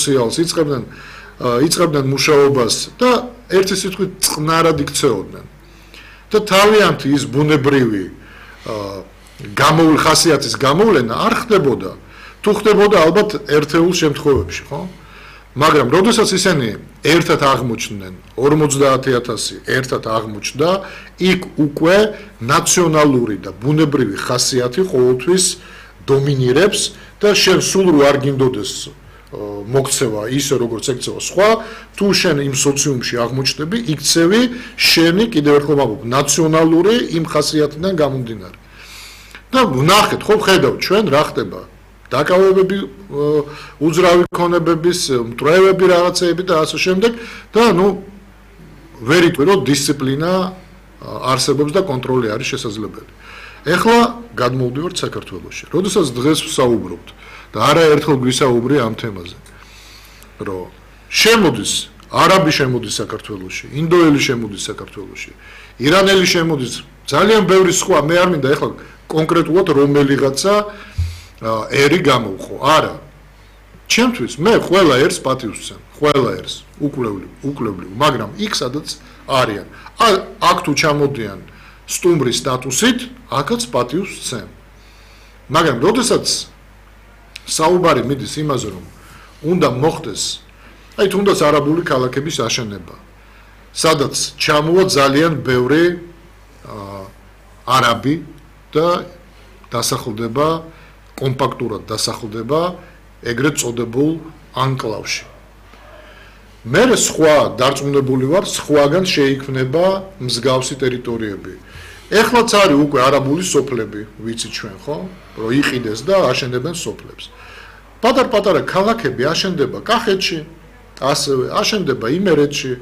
სოციალს იწყებდნენ მუშაობას და ერთი სიტყვით წყნარად იქცეოდნენ. და თავიანთი ის ბუნებრივი ხასიათის გამოვლენა არ ხდებოდა. თუ ხდებოდა ალბათ ერთეულ შემთხვევებში, ხო? მაგრამ როდესაც ისინი ერთად აღმოჩნდნენ 50,000 ერთად აღმოჩნდა, იქ უკვე ნაციონალური და ბუნებრივი ხასიათი ყოველთვის დომინირებს და შენ სულ რო არ გინდოდეს მოგცევა ისე როგორც ექცევა სხვა, თუ შენ იმ სოციუმში აღმოჩნდები, იქცევი შენი კიდევ ერთხელ ვამბობ, ნაციონალური იმ ხასიათიდან გამომდინარე. და ვნახეთ, ხო ხედავთ ჩვენ რა ხდება? დაკავებები, უძრავი ქონებების, მტრევები რაღაცეები და ასე შემდეგ და ვერ იტყვი რომ დისციპლინა არსებობს და კონტროლი არის შესაძლებელი. ეხლა გადმოვდივართ საქართველოში. როდესაც დღეს ვსაუბრობთ და არაერთხელ გვისაუბრე ამ თემაზე, რომ შემოდის არაბი შემოდის საქართველოში, ინდოელი შემოდის საქართველოში, ირანელი შემოდის, ძალიან ბევრი სხვა, მე არ მინდა ეხლა კონკრეტულად რომელიღაცა ერი გამოვხო. არა. ჩემთვის მე ყველა ერს პატივს ვცემ, ყველა ერს უკვლევლიო, მაგრამ იქ სადაც არიან. აქ თუ ჩამოდიან სტუმრის სტატუსით, აქაც პატივს ვცემ. მაგრამ როდესაც საუბარი მიდის იმაზე, რომ უნდა მოხდეს, თუნდაც არაბული ქალაქების აშენება, სადაც ჩამოვა ძალიან ბევრი არაბი და დასახლდება კომპაქტურად დასახლდება ეგრეთ წოდებულ ანკლავში. მე სხვა დარწმუნებული ვარ, სხვაგან შეიქმნება მსგავსი ტერიტორიები. ეხლაც არის უკვე არაბული სოფლები, ვიცით ჩვენ, ხო? რომ იყიდეს და აშენებენ სოფლებს. პატარ-პატარა ქალაქები აშენდება კახეთში, ასევე აშენდება იმერეთში,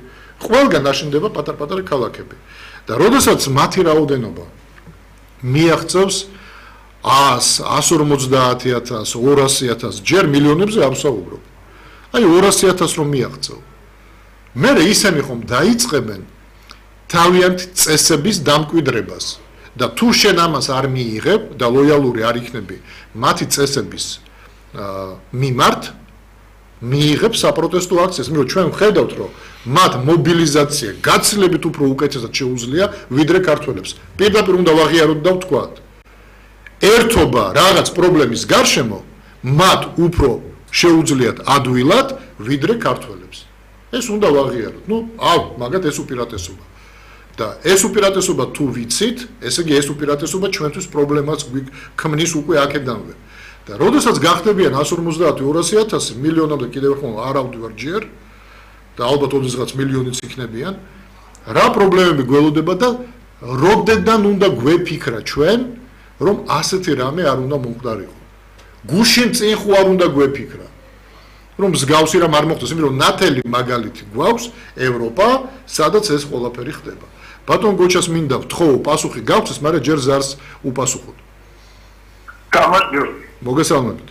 ყველგან აშენდება პატარ-პატარა ქალაქები. და როდესაც მათი რაოდენობა მიაღწევს 100, 150,000, 200,000, ჯერ მილიონებზე არ ვსაუბრობ. 200,000 რომ მიაღწევ. მე ისინი ხომ დაიწყებენ თავიანთი წესების დამკვიდრებას და თუ შენ ამას არ მიიღებ და ლოიალური არ იქნები მათი წესების მიმართ, მიიღებ საპროტესტო აქციას, იმიტომ რომ ჩვენ ვხედავთ, რომ მათ მობილიზაცია გაცილებით უფრო უკეთესად შეუძლია ვიდრე ქართველებს. პირდაპირ უნდა ვაღიაროთ და ვთქვათ, ერთობა რაღაც პრობლემის გარშემო მათ უფრო შეუძლიათ ადვილად ვიდრე ქართველებს. ეს უნდა ვაღიაროთ. მაგათ ეს უპირატესობა. და ეს უპირატესობა თუ ვიცით, ესე იგი ეს უპირატესობა ჩვენთვის პრობლემას ქმნის უკვე აქედანვე. და როდესაც გახდებიან 150,000-200,000 მილიონამდე კიდევ ერთხელ არ ავდივარ ჯერ და ალბათ ოდესღაც მილიონიც იქნებიან, რა პრობლემები გველოდება და როდიდან უნდა გვეფიქრა ჩვენ, რომ ასეთი რამე არ უნდა მომხდარიყო. გუშინ წინ ხო არ უნდა გვეფიქრა, რომ მსგავსი რამ არ მოხდეს, იმიტომ რომ ნათელი მაგალითი გვაქვს ევროპა, სადაც ეს ყველაფერი ხდება. ბატონ გოჩას მინდა ვთხოვო, პასუხი გავცეს, მაგრამ ჯერ ზარს უპასუხოთ. გამარჯობა. მოგესალმებით.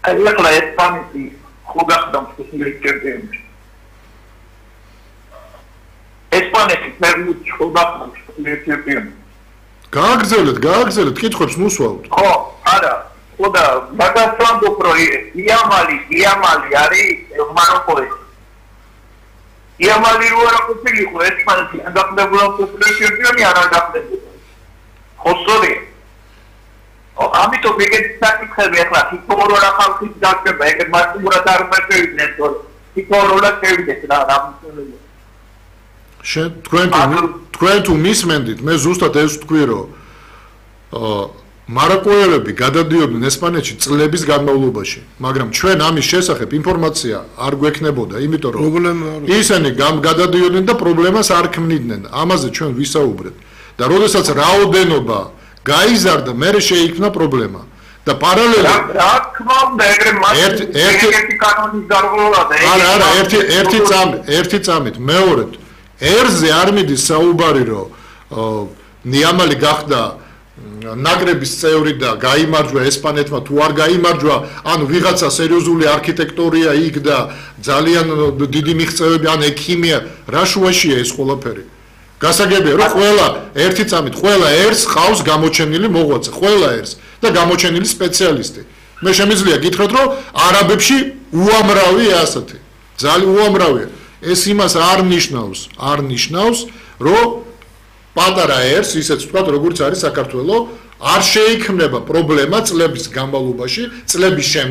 ახლა ესპანეთი ხო გახდა მსოფლიოს ჩემპიონი. ესპანეთი ფერმუჩ ხო გახდა მსოფლიოს ჩემპიონი. გააგრძელეთ, კითხვებს მუსვავთ. ხო, არა. ხო და მაგას ვამბობ, რომ იამალი არის მაროკოელი. იამალი რო არ ყოფილიყო ესპანეთი არ გახდებოდა მსოფლიოს ჩემპიონი, არ გახდებოდა. ხო სწორია. ამიტომ ეგეთ საკითხები ახლა თითოეულ ხალხის დაწყება, ეგეთ მასიურად არ მოწევიდნენ, თორე თითოეულ შევიდეს რა თქვენ თუ მისმენდით, მე ზუსტად ეს ვთქვი, რომ მაროკოელები გადადიოდნენ ესპანეთში წლების განმავლობაში, მაგრამ ჩვენ ამის შესახებ ინფორმაცია არ გვექნებოდა, იმიტომ რომ ისინი გადადიოდნენ და პრობლემას არ ქმნიდნენ. ამაზე ჩვენ ვისაუბრეთ. და როდესაც რაოდენობა გაიზარდა, მერე შეიქმნა პრობლემა. და პარალელურად რა თქმა უნდა, ეგრე ერთი კანონის დარღვევა და არა, ერთი წამით, მეორედ ერზე არ მიდის საუბარი, რომ ნიამალი გახდა ნაკრების წევრი და გაიმარჯვა ესპანეთმა თუ არ გაიმარჯვა, ანუ ვიღაცა სერიოზული არქიტექტორია იქ და ძალიან დიდი მიღწევები, ან ექიმია, რა შუაშია ეს ყველაფერი. გასაგებია, რომ ყველა ერთი წამით, ყველა ერს ხავს გამოჩენილი მოღვაწე, ყველა ერს და გამოჩენილი სპეციალისტი. მე შემიძლია გითხრათ, რომ არაბებში უამრავია ასეთი. ძალიან უამრავია. ეს იმას არ ნიშნავს, რომ პატარა ერს, ისეც ვთქვათ, როგორც არის საქართველოს, არ შეიქმნება პრობლემა წლების განმავლობაში, წლების